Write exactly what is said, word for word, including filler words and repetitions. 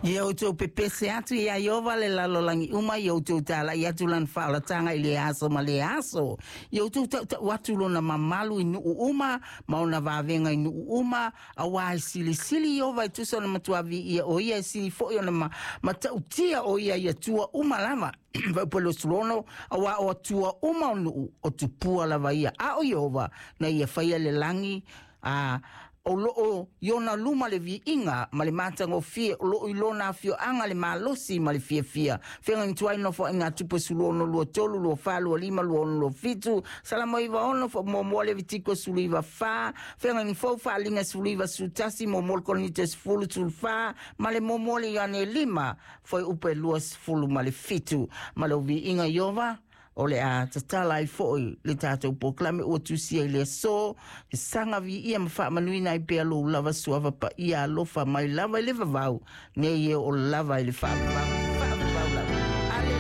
Ia outou pepese atu ia Ieova le lalolagi uma, ia outou tala'i atu lana faaolataga i le aso ma le aso. Ia outou ta'uta'u atu lona mamalu i nu'u uma ma ona vavega i nu'u uma, auā e silisili Ieova e tusa ona matuā viia o ia, e sili fo'i ona ma, mata'utia o ia i atua uma lava. Fuaiupu e luasefulu ono, auā o atua uma o nu'u o tupua lava ia, a o Ieova na ia faia le lagi. A o loo i ona luma le viiga ma le matagofie, o loo i lona afioaga le malosi ma le fiafia. Feagaiga Tuai, Nofoaiga a Tupu e sefulu ono, lua tolu, lua fa, lua lima, lua ono, lua fitu, Salamo iva ono, muamua Levitiko sefuluiva fa, Feagaiga Fou, Faaliga sefuluiva sefulutasi, muamua le Korinito sefulu sefulufa ma le muamua le Ioane lima, fuaiupu e luasefulu ma le fitu. Ma le viiga Ieova o le a tatala ai fo'i le tatou polokalame ua tusia i le aso, e saga viia ma faamanuina ai pea lou lava suafa paia alofa mai lava i le vavau nei e o lava i le faavavau.